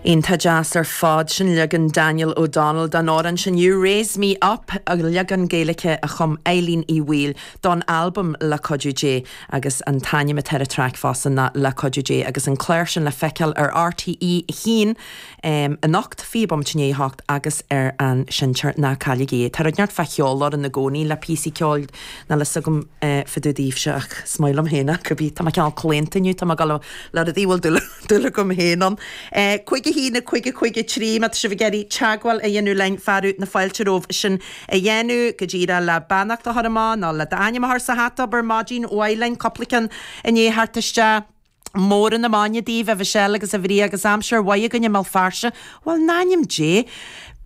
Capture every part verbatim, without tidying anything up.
Iontach deas ar fad sin leagan Daniel O'Donnell den amhrán sin You Raise Me Up a leagan Gaeilge a chum Eileen Uí Bhaoill don albam Le Cuidiú Dé agus an t-ainm atá ar an traic fosta ná Le Cuidiú Dé agus an clár sin le feiceáil ar RTÉ haon um, anocht fiche bomaite i ndiaidh a hocht agus ar an seinnteoir ná cailligí. Tá rud neart fá cheol orainn i gcónaí le píosaí ceoil níl a fhios agam uh, fá dtaobh daoibhse ach is maith liom féin go bí Tá ceann claonta tá go le rudaí bhfuil dúil agam féin ann. Uh, Cúig a haon cúig cúig trí má tá sibh ag iarraidh teagmháil a dhéanamh linn fearadh na fáilte romhaibh sin a dhéanamh go díreach le beannacht a chur amach nó le d'ainm a chur sa hata abair maidin mhaith linn cúpla ceann inné thart isteach. Mór na maidine daoibh a Mhichelle agus a Mharia agus aimsir mhaith againn i mBéal Feirste, Well in ainm Dé,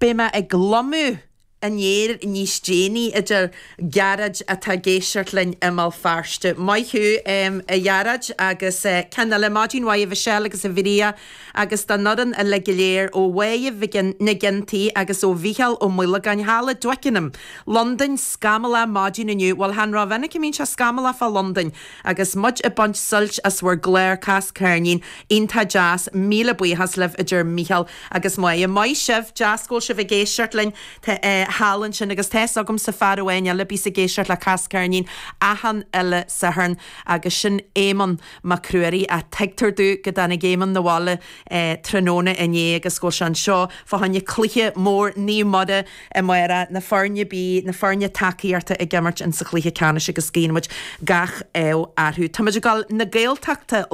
Beidh mé ag lomú an aer níos déanaí idir Gearóid atá ag éisteacht linn i mBéal Feirste. Maith thú um, a Ghearóid agus uh, ceann eile maidin mhaith a Mhichelle agus a Mharia agus don fhoireann uile go léir ó Mhaigh na Gintaí agus ó Mhicheál Ó Muileagáin thall i Twickenham. Londain scamallach maidin inniu, Well chan rómhinic a mbíonn sé scamallach fá Londain agus muid ag baint sult as bhur gclár Cas Ceirnín iontach deas míle buíochas libh idir Micheál agus Máire. Maith sibh deas go bhfuil sibh ag éisteacht linn eh, thall ansin agus tá agam sa fear amháin eile bíos ag éisteacht le Cas Ceirnín achan uile Satharn agus sin Éamonn Mac Ruairí a tuigtear domh go dtáinig Éamonn abhaile eh, tráthnóna inné agus go bhfuil sé anseo fá choinne cluiche mór Naomh Muire amárach na foirne B na foirne tacaíochta ag imirt in sa chluiche ceannais agus guíonn muid gach ádh orthu. Tá muid ag dul na Gaeltachta